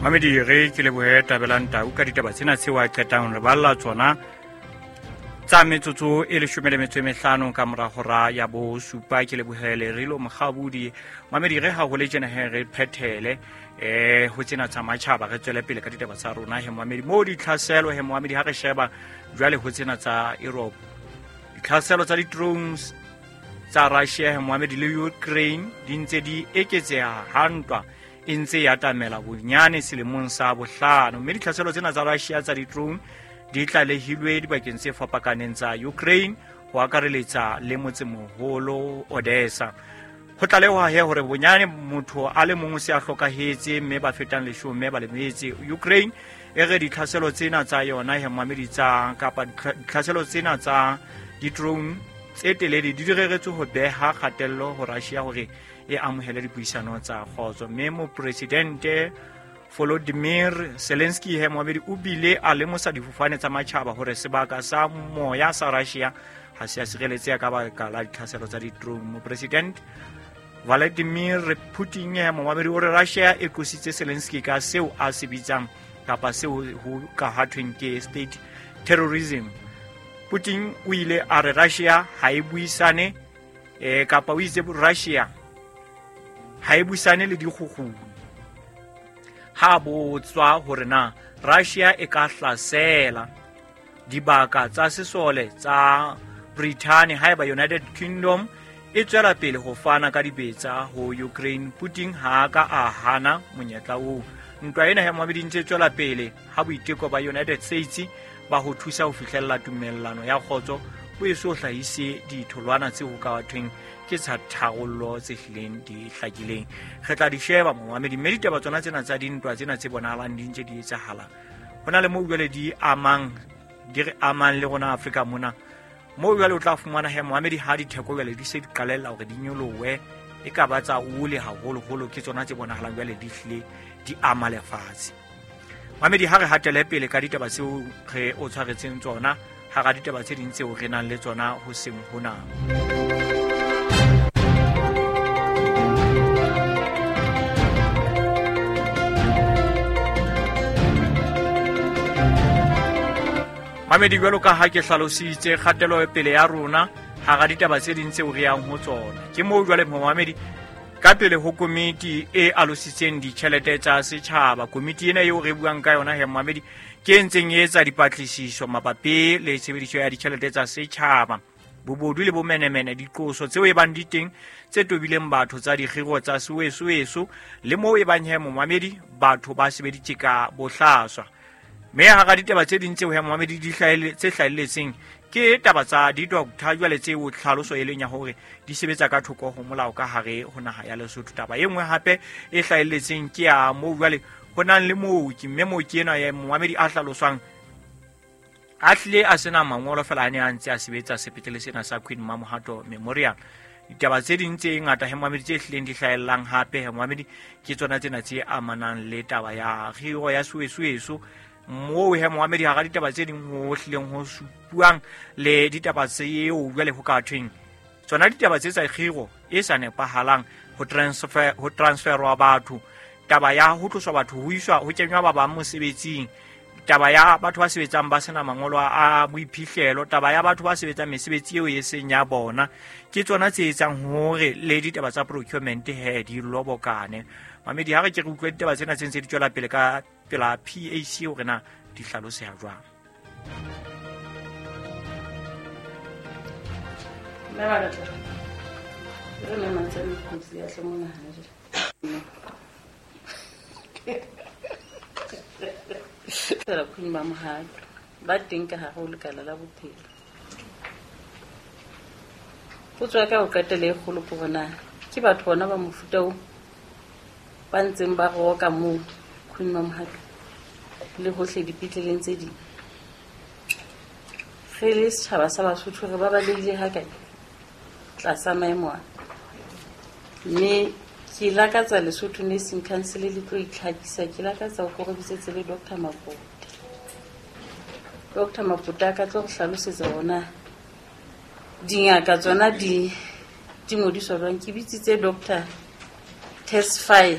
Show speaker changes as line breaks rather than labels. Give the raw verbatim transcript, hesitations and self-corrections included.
Mamedi re ke lebohe Tabelang Tau ka ditaba tsena tseo a qetang re balla tsona tsa metsotso e leshome le metso e mehlano ka mora hora ya bosupa. Ke lebohe Lerilo Mokgabudi. Mamedi re ha ho le tjena he re phethele eh ho tsena tsa matjhaba, re tswele pele ka ditaba tsa rona he Mamedi. Mo ditlhaselo he Mamedi ha re sheba jwale ho tsena tsa Europe, ditlhaselo tsa di-drones tsa Russia he Mamedi le Ukraine di ntse di eketseha ha ntwa e ntse ya atamela bonyane selemong sa bohlano, mme ditlhaselo tsena tsa Russia tsa di-drone di tlalehilwe dibakeng tse fapakaneng tsa Ukraine ho akareletsa le motsemoholo Odessa. Ho tlalehwa he hore bonyane motho a le mong o se a hlokahetse mme ba fetang leshome ba lemetse. Ukraine e re ditlhaselo tsena tsa yona he Mamedi tsa kapa ditlhaselo tsena tsa di-drone tse telele di direretswe ho beha kgatello ho Russia hore e amohele dipuisano tsa kgotso. Mme mopresidente Volodymyr Zelensky he Mamedi o bile a lemosa difofane tsa matjhaba hore sebaka sa moya sa Russia ha se a sireletseha ka baka la ditlhaselo tsa di-drone. Mopresidente Vladimir Putin he Mamedi o re Russia e qositse Zelensky ka seo a se bitsang kapa seo ho ka ha thweng ke state terrorism. Putin o ile a re Russia ha e buisane eh kapa o itse Russia ha e buisane le dikgukguni. Ha botswa hore na Russia e ka hlasela dibaka tsa sesole tsa Britain haeba United Kingdom e tswela pele ho fana ka dibetsa ho Ukraine, Putin ha ka a hana monyetla oo. Ntwa ena ya Mamedi ntse tswela pele ha boiteko ba United States ba ho thusa ho fihlella tumellano ya kgotso bo eso hlahise ditholwana tse ho ka thweng ke tsa tharollo tse hlileng di hlakileng. Re tla di sheba Mamedi, mme ditaba tsona tsena tsa dintwa tsena tse bonahalang di ntse di etsahala ho na le moo jwale di amang di re amang le rona Afrika mona, moo jwale o tla fumana he Mamedi ha ditheko jwale di se di qalella hore di nyolohe e ka ba tsa ole haholoholo, ke tsona tse bonahalang jwale di hlile di ama lefatshe. Mamedi ha re hatele pele ka ditaba tseo re o tshwaretseng tsona hara ditaba tse ding tseo re nang le tsona ho seng hona. Mamedi jwalo ka ha ke hlalositse kgatelo pele ya rona hara ditaba tse ding tseo re yang ho tsona, ke moo jwale Mamedi ka pele ho komiti e alositseng ditjhelete tsa setjhaba. Komiti ena eo re buang ka yona he Mamedi ke e ntseng e etsa dipatlisiso mabapi le tshebediso ya ditjhelete tsa setjhaba, bobodu le bomenemene, diqoso tseo e bang di teng tse tobileng batho tsa dikgiro tsa sewesoweso le moo e bang he Mamedi batho ba sebeditse ka bohlaswa. Mme hara ditaba tse ding tseo he Mamedi di hlahelle tse hlahelletseng ke taba tsa di-doctor jwale tseo tlhaloso e leng ya hore di sebetsa ka thoko ho molao ka hare ho naha ya Lesotho. Taba e nngwe hape e hlahelletseng ke ya moo jwale ho nang le mooki, mme mooki enwa ya Mamedi a hlaloswang a hlile a sena mangolo fela a ne a ntse a sebetsa sepetlele sena sa Queen Mamohato Memorial. Ditaba tse ding tse ngata he Mamedi tse hlileng di hlahellang hape he Mamedi ke tsona tsena tse amanang le taba ya kgiro ya sewesoweso, moo he Mamedi hara ditaba tse ding ho hlileng ho supuang le ditaba tseo jwale ho ka thweng tsona ditaba tse tsa kgiro e sa nepahalang, ho transfer ho transferwa batho, taba ya ho tloswa batho ho iswa ho kenywa ba bang mosebetsing, taba ya batho ba sebetsang ba sena mangolo a boiphihlelo, taba ya batho ba sebetsang mesebetsi eo e seng ya bona, ke tsona tse etsang hore le ditaba tsa procurement he di lobokane. Mamedi ha re ke re utlwe ditaba tsena tse ntse di tswela pele ka pela P A C hore na di hlaloseha jwang.
Mme ba re tla re le mantsane kotsi ya hle mona hana jwale. Fela Queen Mamohato ba teng ka hare ho lekala la bophelo. Potso ya ka ho qetela e kgolo ke hore na ke batho bona ba mofuta oo ba ntseng ba roka moo Queen Mamohato le hohle dipetleleng tse ding. Re le setjhaba sa Basotho re ba balehile hakae tlasa maemo a, mme ke lakatsa Lesotho Nursing Council le tlo itlhakisa, ke lakatsa ho korobisetse le Doctor Mapote. Doctor Mapote a ka tlo re hlalosetsa hore dingaka tsona di di ngodiswa jwang. Ke bitsitse Doctor Tesfaye